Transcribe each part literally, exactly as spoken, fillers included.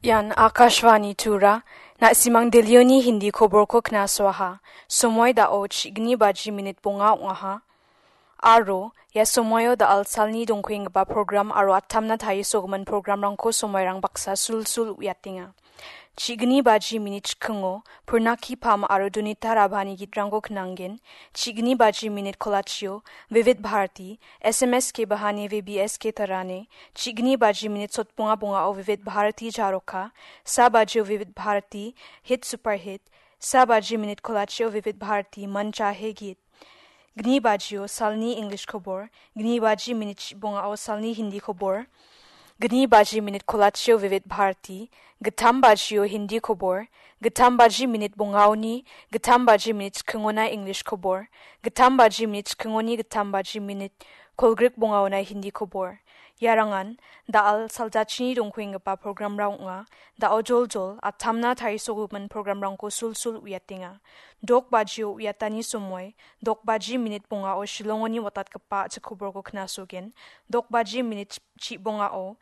Ian Akashvani Tura, na·simang Delhioni Hindi koborko knasoaha. Somoi dao chigni baji minit bonga ong·aha. Aro, ia somoio da·al salni dongkoenggipa program aro atamna tarisogimin programrangko somoirang baksa sulsul uiatenga. Chigni baji minit chikingo, Purnaki Pam aro Dunita Rabhani gitrangko knanggen. Chigni baji minit kolachio, Vivid Bharati, S M S ke bahane V B S ke tarane. Chigni baji minit sotbonga bongao Vivid Bharati Jaroka. Sa bajio Vivid Bharati, Hit Super Hit. Sa baji minit kolachio Vivid Bharati, Mancha He Git. Gni bajio salni English kobor, gni baji minit bongao salni Hindi kobor, gni baji minit kolachio Vivid Bharati, gittam bajio Hindi kobor, gittam baji minit bongaoni, gittam baji minit chikingona English kobor, gittam baji minit chikingoni gittam baji minit kolgrik bongaona Hindi kobor. Iarangan da·al saljachini dongkoenggipa programrang ong·a. Da·o joljol atamna tarisogimin programrangko sulsul uiatenga. Dok bajio uiatani somoi, dok baji minit bongao Shillongoni watatgipa a·chik koborko knasogen. Dok baji minit chibongao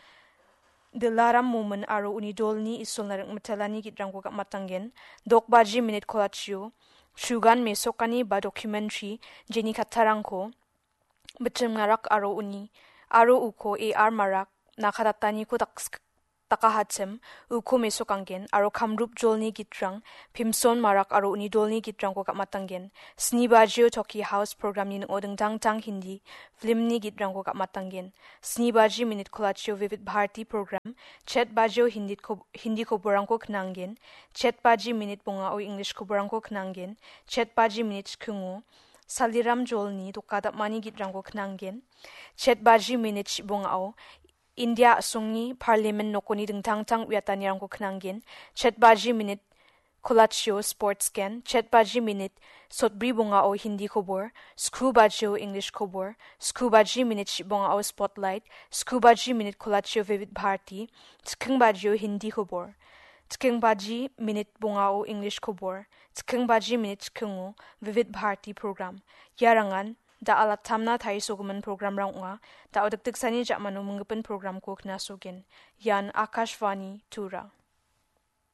Dilaram Momin aro uni dolni Isolna Ringmitelani gitrangko gam·atanggen. Dok baji minit kolachio Shugan Mesokani ba documentary jeni kattarangko Bichim Narak aro uni, aro uko A R Marak, Nakadataniko daks-, dakahachim, uko mesokanggen, aro Kamrup jolni gitrang, Pimson Marak aro uni dolni gitrangko gam·atanggen. Sni bajio Toki House programni ning·o dingtang tang Hindi filmni gitrangko gam·atanggen. Sni baji minit kolachio Vivid Bharati program, chet bajio Hindi ko-, Hindi koborangko knanggen, chet baji minit bongao English koborangko knanggen, chet baji minit chikingo, Saliram jolni doka dam·ani gitrangko knanggen. Chet baji minit chibongao India a·songni Parliament nokoni dingtang tang uiatanirangko knanggen. Chet baji minit kolachio sports gen. Chet baji minit sotbri bongao Hindi kobor. Sku bajio English kobor. Sku baji minit chibongao spotlight. Sku baji minit kolachio Vivid Bharati. Chiking bajio Hindi kobor. Chiking baji minit bongao English kobor. Chiking baji minit chikingo Vivid Bharati program. Iarangan da·al atamna tarisogimin programrang ong·a. Da·o dikdiksani ja·mano minggipin programko knasogen. Ian Akashvani Tura.